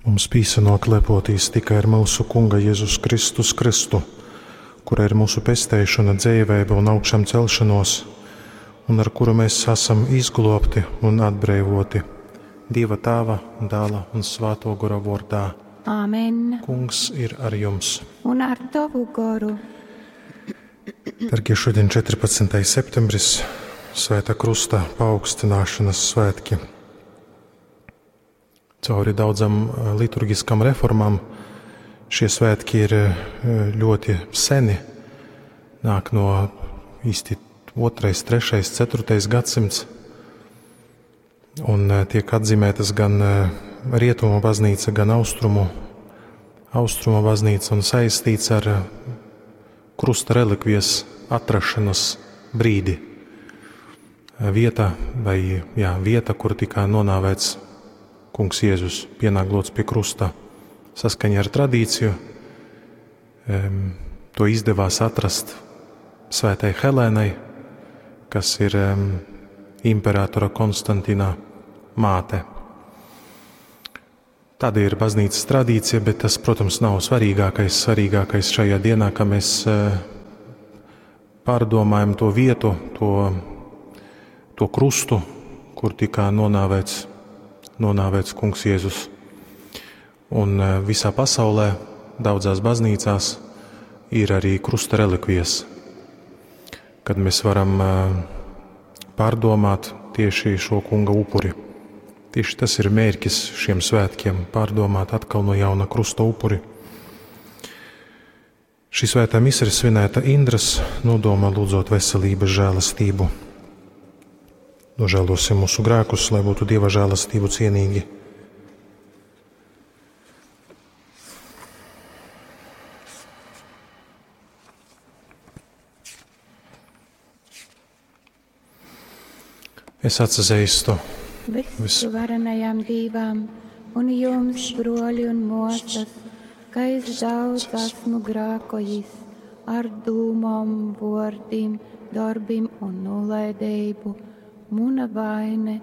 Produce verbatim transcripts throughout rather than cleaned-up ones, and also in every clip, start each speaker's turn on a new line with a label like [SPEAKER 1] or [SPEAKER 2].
[SPEAKER 1] Mums pīsanōk lepotīs tikai ar myusu Kunga Jezus Kristus Kristu, kura ir mūsu pesteišona, dzeiveiba un augšamcelšanōs, un ar kuru mēs esam izglōbti un atbreivoti. Dieva Tāva, Dāla un Svāto Gora vōrdā.
[SPEAKER 2] Āmen.
[SPEAKER 1] Kungs ir ar jums.
[SPEAKER 2] Un ar tavu goru.
[SPEAKER 1] Dargie, šodien četrpadsmitais septembris, Svētā Krusta paaugstināšanas svētki. Cauri daudzam liturgiskam reformām šie svētki ir ļoti seni, nāk no īsti otrais, trešais, ceturtais gadsimts, un tiek atzīmētas gan Rietumu baznīca, gan Austrumu, Austrumu baznīca un saistīts ar krusta relikvijas atrašanas brīdi. Vieta, vai, jā, vieta, kur tika nonāvēts Kungs Jēzus, pienāglots pie krusta. Saskaņā ar tradīciju to izdevās atrast Svētai Helēnai, kas ir imperatora Konstantina māte. Tāda ir baznīcas tradīcija, bet tas, protams, nav svarīgākais. Svarīgākais šajā dienā, ka mēs pārdomājam to vietu, to, to krustu, kur tika nonāvēts, nonāvēts Kungs Jēzus. Un visā pasaulē, daudzās baznīcās, ir arī krusta relikvijas, kad mēs varam pārdomāt tieši šo Kunga upuri. Tieši tas ir mērķis šiem svētkiem – pārdomāt atkal no jauna krusta upuri. Šī svētā mise ir svinēta Indras nodomā, lūdzot veselības žēlastību. Nožēlosim mūsu grēkus, lai būtu Dieva žēlastību cienīgi. Es atzīstu
[SPEAKER 2] Visuvarenajam Dievam un jums, broļi un mosas, ka es daudz esmu grākojis ar dūmom, vōrdim, darbim un nolaidību. Muna vaine,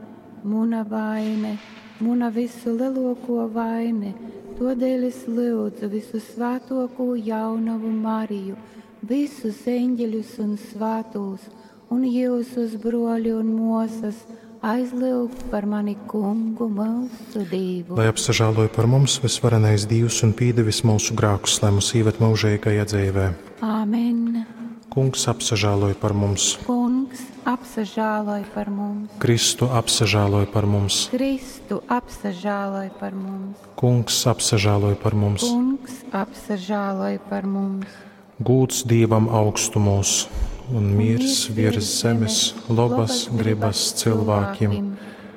[SPEAKER 2] muna vaine, muna visu lielāko vaine, todēļ es lūdzu visu svētoko jaunavu Mariju, visus eņģeļus un svētos, un jūsus broļi un mosas, aizlūgt par mani Kungu mūsu Dievu.
[SPEAKER 1] Lai apsažāloja par mums visvarenais Dievs un pīdevis mūsu grākus, lai mūs īvet mūžīgajā dzīvē.
[SPEAKER 2] Āmen.
[SPEAKER 1] Kungs apsažāloja par mums.
[SPEAKER 2] Kungs apsažāloj par mums.
[SPEAKER 1] Kristu apsažāloj par mums.
[SPEAKER 2] Kristu apsažāloj par mums.
[SPEAKER 1] Kungs apsažāloj par mums.
[SPEAKER 2] Kungs apsažāloj par mums.
[SPEAKER 1] Gūts Dievam augstumos un miers virs zemes, labas gribas cilvēkiem.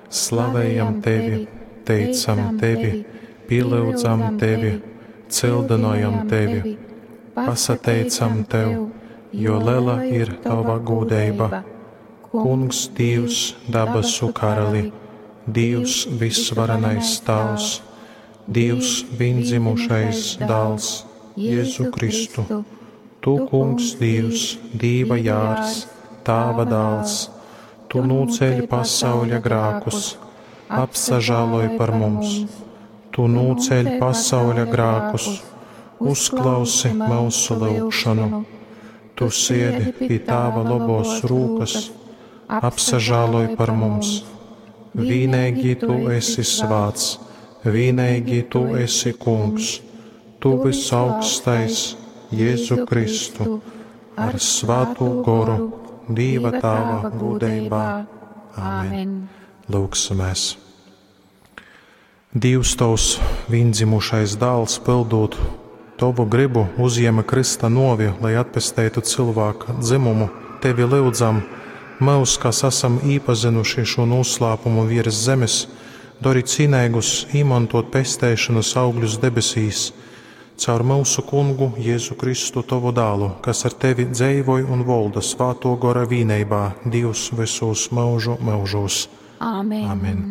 [SPEAKER 1] Slavējam tevi, teicam tevi, pielūdzam tevi, cildinojam tevi, pasateicam tev, jo liela ir tava gūdeiba. Kungs Dievs, dabasu karali, Dievs visvarenais Tēvs, Dievs viendzimušais dēls, Jēzu Kristu. Tu, Kungs Dievs, Dieva jārs, Tāva dāls, Tu nūceļ pasauļa grākus, apsažāloj par mums. Tu nūceļ pasauļa grākus, uzklausi mūsu lūgšanu. Tu siedi pie Tāva labos rūkas, apsažāloj par mums. Vīnīgi Tu esi svāts, vīnīgi Tu esi Kungs, Tu visaugstais, Jēzu Kristu, ar Svēto Goru, Dieva Tāva gūdeibā. Āmen. Lūgsimies. Dievs tavs viendzimušais dāls, pildot tavu gribu, uzņēma Krista novi, lai atpestētu cilvēka dzimumu. Tevi lūdzam, mūs, kas esam īpazinuši šo noslēpumu virs zemes, dari cienīgus īmantot pestēšanas augļus debesīs, caur mūsu Kungu Jēzu Kristu tavu dālu, kas ar tevi dzeivoj un volda Svāto Gora vīneibā, Dievs visos mūžu mūžos.
[SPEAKER 2] Āmen.
[SPEAKER 1] Amen.